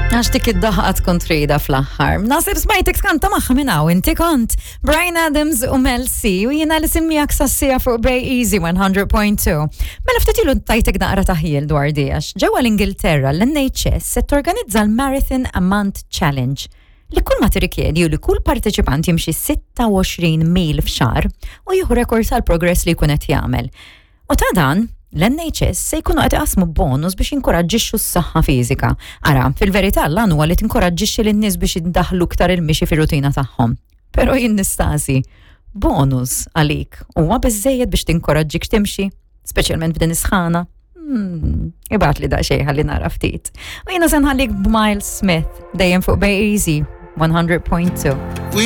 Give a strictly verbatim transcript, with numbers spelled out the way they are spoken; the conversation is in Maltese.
Għax dik id-daħqa tkun trida fl-aħħar. Naħseb smajtek tkanta magħha minn hawn, inti kont Bryan Adams u Mel C u jiena li semmijak sassija fuq Bay Easy one hundred point two. Mela ftit ilu tajtek naqra taħjil dwar di għax ġewwa l-Ingilterra l-N H S se torganizza l-Marathon a Month Challenge li kull ma tirrikjedi u li kull parteċipant jimxi sitta u għoxrin mil f'xahar u jieħu rekord tal-progress li jkun qed jagħmel. U ta' dan, l-N H S se jkunu qed iqasmu bonus biex jinkoraġġixxu s-saħħa fiżika. Ara, fil-verità l huwa li tinkoraġġixxi lin-nies biex jiddaħlu iktar il-mixi fir-rutina tagħhom. Però jien nistaqsi, bonus għalik huwa biżejjed biex tinkoraġġik timxi, speċjalment f'din is-sħana? Hmm, ibgħatli daqsxejn ħalli nara ftit. U jiena se nħallik b'Miles Smith dejjem fuq Bay Easy one hundred point two. We